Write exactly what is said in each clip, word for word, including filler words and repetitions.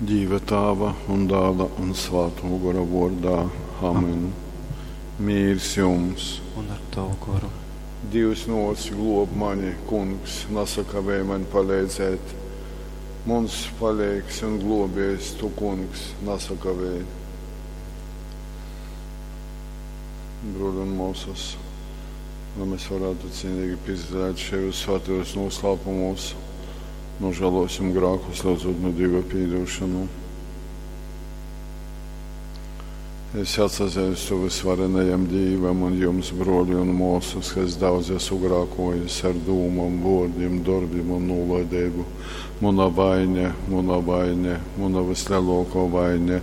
Dīva Tāva un Dāla un Svātō Gora vōrdā. Amen. Mīrs jums! Un ar tavu goru. Dīvs nōc glōb mani, Kungs, nasakavēj maņ paleidzēt. Muns paleigs un glōbējs, tu, Kungs, nasakavēj. Brōļi un mōsas, lai mēs varētu cienīgi piedalīt šajos svētajos noslēpumos, nožēlosim grēkus, lūdzot no Dieva piedošanu. Es atsazīstu visvarenajam Dievam un jums, brōļi un māsas, ka es daudz esmu grēkojis ar dūmām, vārdiem, darbiem un nolaidību. Mana vaine, mana vaine, mana vislielākā vaine.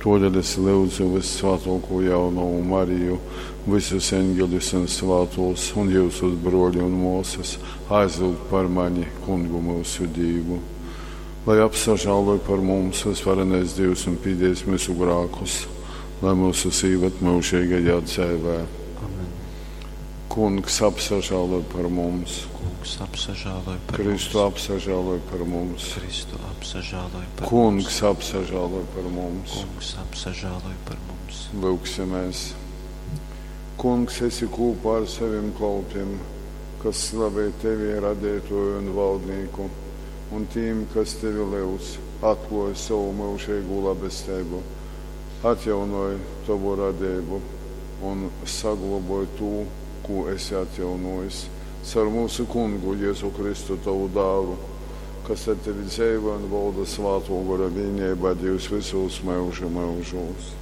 Todēļ es lūdzu vissvētāko jaunavu Mariju, visus eņģeļus un svētos un jūsus brōļi un māsas aizlūgt par mani, Kungu mūsu Dievu. Lai apsažāloj par mums visvarenais Dievs un pīdies mūsu grēkus, lai mūsu īved mūžīgajā dzīvē. Amen. Kungs apsažāloj par mums, Kungs apsažāloj par Kristu mums. apsažāloj par mums, Kristu apsažāloj par Kungs mums. apsažāloj par mums. Kungs apsažāloj par mums. Lūksimies. Kungs, esi kopā ar saviem kalpiem, kas slavē tevi, radītoju un valdnieku, un tiem, kas tevi lūdz, atklāj savu mūžīgo labestību, atjaunoj tavu radību un saglaboj to, ko esi atjaunojis. Caur mūsu kungu Jēzu Kristu, tavu dālu, kas ar tevi dzīvo un valda svāto gara vienībā Dievs visos mūža mūžos.